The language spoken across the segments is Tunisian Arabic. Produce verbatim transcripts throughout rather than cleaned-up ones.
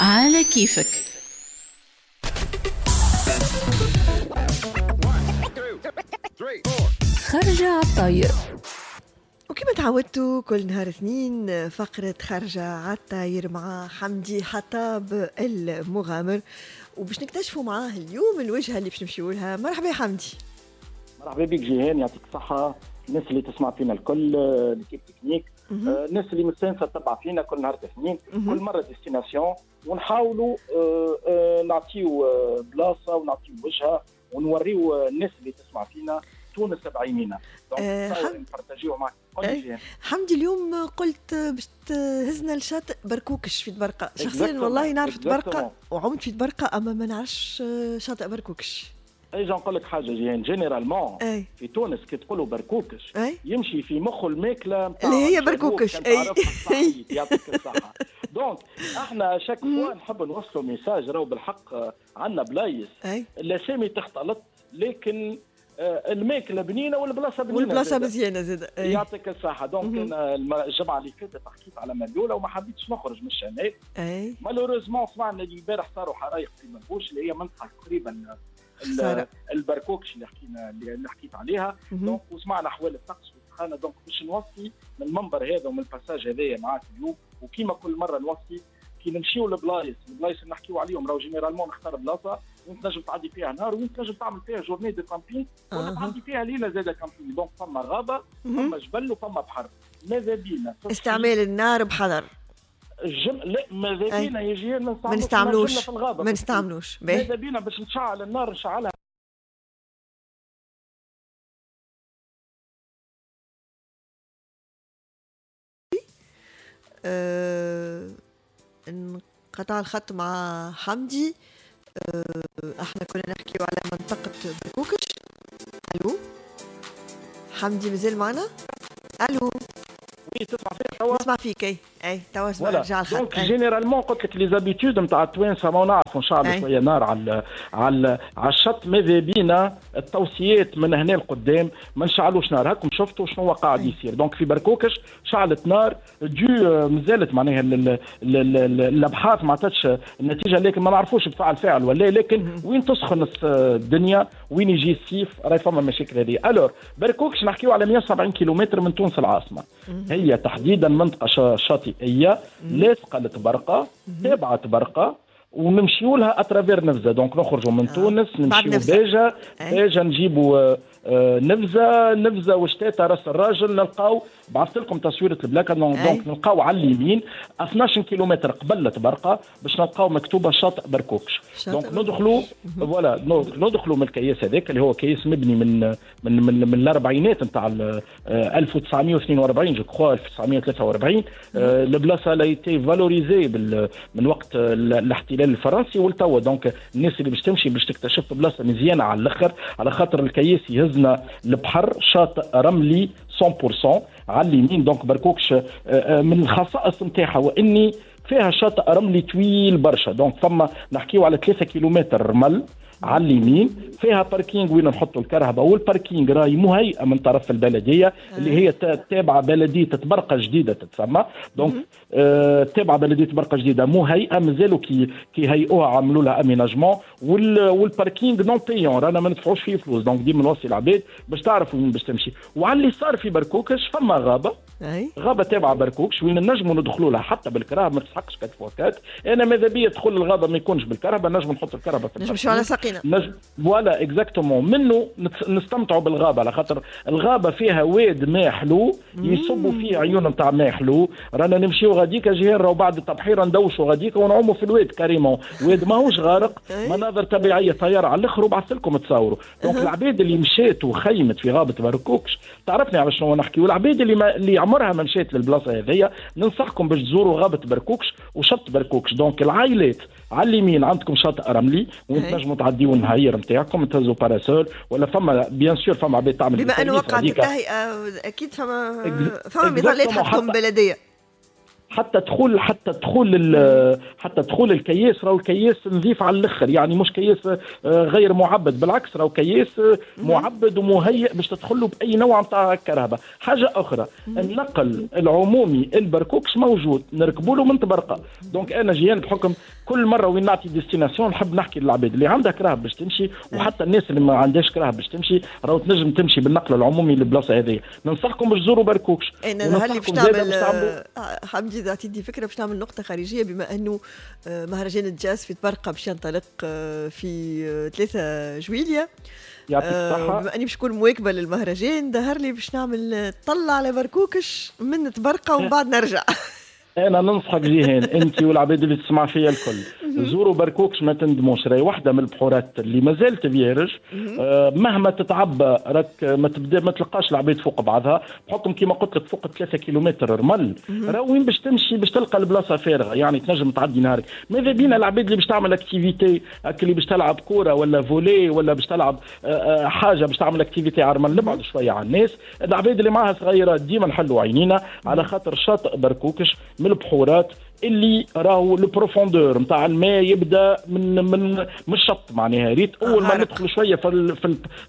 على كيفك. خرجة على الطاير. وكما تعودتوا كل نهار اثنين فقرة خرجة على الطاير مع حمدي حطاب المغامر، وباش نكتشفوا معاه اليوم الوجهة اللي باش نمشيو لها. مرحبا يا حمدي. مرحبا بك جيهان، يعطيك الصحة. الناس اللي تسمع فينا الكل، l'équipe technique، الناس اللي مستانسة تتبع فينا كل نهار اثنين، كل مرة destination، ونحاولوا نعطيو بلاصة ونعطيو وجهة ونوريو الناس اللي تسمع فينا تونس بعينينا. أه نبارتاجيو معك. حمدي اليوم قلت باش تهزنا لشاطئ بركوكش في تبرقة. شخصيا والله نعرف تبرقة وعمت في تبرقة، اما ما نعرفش شاطئ بركوكش. اجا نقول لك حاجة جيهان، généralement في تونس كي تقولوا بركوكش أي؟ يمشي في مخه الماكلة اللي هي بركوكش. اي يعطيك الصحة. donc احنا chaque fois نحب نوصلوا message، راهو بالحق عندنا بلايص الاسامي تختلط، لكن الماكلة بنينه والبلاصه بنينه والبلاصه مزيانه زاد. يعطيك الصحة. donc انا الجمعة اللي فاتت حكيت على مليوله وما حبيتش نخرج من الشمال. malheureusement سمعنا اللي البارح صاروا حرايق في منبوش اللي هي منطقة تقريبا البركوكش اللي حكينا اللي حكيت عليها. donc وسمعنا احوال الطقس والسخانه. donc باش نوصي من المنبر هذا ومن ال passage هذايا معاك اليوم، وكيما كل مرة نوصي كي نمشيو لبلايص، البلايص اللي نحكيو عليهم راهو généralement نختار بلاصة وين تنجم تعدي فيها نهار، وين تنجم تعمل فيها journée de camping، ولا تعدي فيها ليلة زاده camping. donc فما غابه، فما جبل، وفما بحر. ماذا بينا استعمال النار بحذر. الجم... لا ماذا بينا يجي ما نستعملوش في الغابة، ما نستعملوش. ماذا بينا باش نشعل النار نشعلها أه... انقطع الخط مع حمدي. أه... احنا كنا نحكيو على منطقة بركوكش. الو حمدي مازال معنا؟ الو oui تسمع فيا توا؟ نسمع فيك. اي اي توا رجع الخط. donc généralement قلت لك les habitudes نتاع التوانسة ما نعرفوا نشعلوا شوية نار على على على الشط. ماذا بينا التوصيات من هنا لقدام ما نشعلوش نار. هاكم شفتوا شنو قاعد يصير. donc في بركوكش شعلت نار دو مازالت معناها الابحاث ما عطاتش النتيجة، لكن ما نعرفوش بفعل فاعل ولا، لكن وين تسخن الدنيا وين يجي الصيف راهي فما مشاكل هذه. alors بركوكش نحكيو على مية وسبعين كيلومتر من تونس العاصمة. هي تحديدا منطقة شاطئيه لاصقه لتبرقه، تابعه تبرقه، ونمشيو لها à travers نفزه. donc نخرجوا من آه. تونس نمشيو باجا، باجا نجيبوا نفزه، نفزه وشتاته راس الراجل، نلقاو بعثت لكم تصويره البلاكه. donc نلقاو على اليمين اثناش كيلومتر قبل تبرقه باش نلقاو مكتوبة شاطئ بركوكش. donc ندخلوا voilà ندخلوا من الكياس هذاك اللي هو كياس مبني من من من, من الاربعينات نتاع ألف وتسعمية واثنين وأربعين je crois ألف وتسعمية وثلاثة وأربعين. البلاصة elle a été valorisée من وقت الاحتلال الفرنسي والتوا. donc الناس اللي باش تمشي باش تكتشف بلاصة مزيانه على الاخر، على خاطر الكياس يهزنا البحر، شاطئ رملي مية بالمية على اليمين. donc بركوكش من الخصائص نتاعها واني فيها شاطئ رملي طويل برشا. donc فما نحكيو على ثلاثة كيلومتر رمل على اليمين، فيها parking وين نحطوا الكرهبه، وال parking راهي مهيئة من طرف البلدية اللي هي تابعه بلديه تبرقه جديدة تتسمى. donc آه تابعه بلديه تبرقه جديدة مهيئة، مازالوا كي كي هيئوها عملوا لها aménagement، وال parking non payant رانا ما ندفعوش فيه فلوس. donc ديما نوصي العباد باش تعرف وين باش تمشي. وعلى اللي صار في بركوكش فما غابه، غابه تابعه بركوكش وين نجموا ندخلوا لها حتى بالكرهبه، ما تسحقش quatre fois quatre. انا ماذا بيا تدخل الغابة ما يكونش بالكرهبه، نجم نحط الكرهبه في نمشيو على ساقينا نجم. voilà exactement منه نستمتعوا بالغابه، على خاطر الغابة فيها واد ماء حلو يصبوا فيه عيون نتاع ماء حلو. رانا نمشيو غاديك جيهان، راهو بعد التبحيره ندوشوا غاديك ونعوموا في الواد carrément، واد ماهوش غارق، مناظر طبيعية طيارة على الاخر، وبعثت لكم تصوروا. donc العباد اللي مشات وخيمت في غابه بركوكش تعرفني على شنو نحكي، والعباد اللي ما اللي عمرها ما مشات للبلاصه هذيا ننصحكم باش تزوروا غابه بركوكش وشط بركوكش. donc العائلات على اليمين عندكم شاطئ رملي وين تنجموا تعديوا النهاير نتاعكم، تهزوا parasol ولا فما bien sûr فما عباد تعمل. بما انه وقعت التهيئه اكيد فما فما مظلات حتكون بلديه. حتى دخول حتى دخول حتى دخول الكياس، راهو الكياس نظيف على الاخر، يعني مش كياس غير معبد، بالعكس راهو كياس معبد ومهيئ باش تدخل له باي نوع نتاع كهرباء. حاجة اخرى، النقل العمومي البركوكش موجود، نركبوا له من طبرقه. donc انا جيان بحكم كل مرة وين نعطي destination نحب نحكي للعباد اللي عندها كراهب باش تمشي، وحتى الناس اللي ما عندهاش كراهب باش تمشي راهو تنجم تمشي بالنقل العمومي للبلاصه هذه. ننصحكم باش تزوروا بركوكش. انا هل باش نعمل حمدي تعطيني فكرة باش نعمل نقطة خارجية، بما انه مهرجان الجاز في طبرقه باش ينطلق في ثلاثة جويلية. يعطيك الصحة. بما اني باش نكون مواكبة للمهرجان ظهر لي باش نعمل طلة على بركوكش من طبرقه ومن بعد نرجع. انا ننصحك جيهان انت والعباد اللي تسمع فيا الكل، زوروا بركوكش ما تندموش، راهي واحدة من البحورات اللي ما زالت vierge. آه مهما تتعبى راك ما تبدا ما تلقاش العباد فوق بعضها، بحكم كيما قلت لك فوق ثلاثة كيلومتر رمل، راه وين باش تمشي باش تلقى البلاصة فارغة، يعني تنجم تعدي نهارك. ماذا بينا العباد اللي باش تعمل activité، اللي باش تلعب كورة ولا volley ولا باش تلعب آه حاجة باش تعمل activité على الرمل، نبعد شوية على الناس. العباد اللي معاها صغيرات ديما نحلوا عينينا على خاطر شاطئ بركوكش من البحورات اللي راهو ال profondeur نتاع الماء يبدا من من من الشط، معناها ريت اول ما ندخلوا شوية في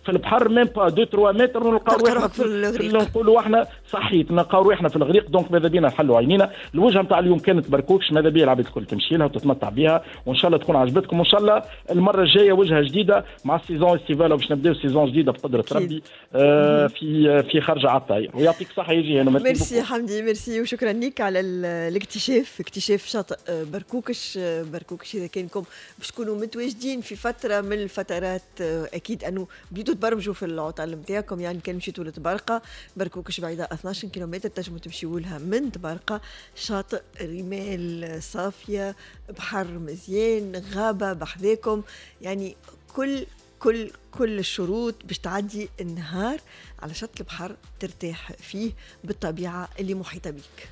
في البحر même pas deux trois mètres نلقاو روحنا في الغريق، نقولوا احنا صحيت نلقاو روحنا في الغريق. donc ماذا بينا نحلوا عينينا. الوجهة نتاع اليوم كانت بركوكش، ماذا بيا العباد الكل تمشي لها وتتمتع بها، وان شاء الله تكون عجبتكم، وان شاء الله المرة الجاية وجهه جديدة مع ال saison estivale باش نبداو saison جديدة بقدره ربي آه في في خرجه على الطاير. ويعطيك الصحة يا جيهان. ميرسي حمدي، ميرسي وشكرا لك على الاكتشاف، اكتشاف شاطئ بركوكش. بركوكش اذا كانكم باش تكونوا متواجدين في فترة من الفترات اكيد انه بديتوا تبرمجوا في العطل نتاعكم، يعني كان مشيتوا لطبرقه، بركوكش بعيدة اثناش كيلومتر تنجموا تمشيوا لها من طبرقه. شاطئ رمال صافية، بحر مزيان، غابه بحذاكم، يعني كل كل كل الشروط باش تعدي النهار على شط البحر ترتاح فيه بالطبيعة اللي محيطه بيك.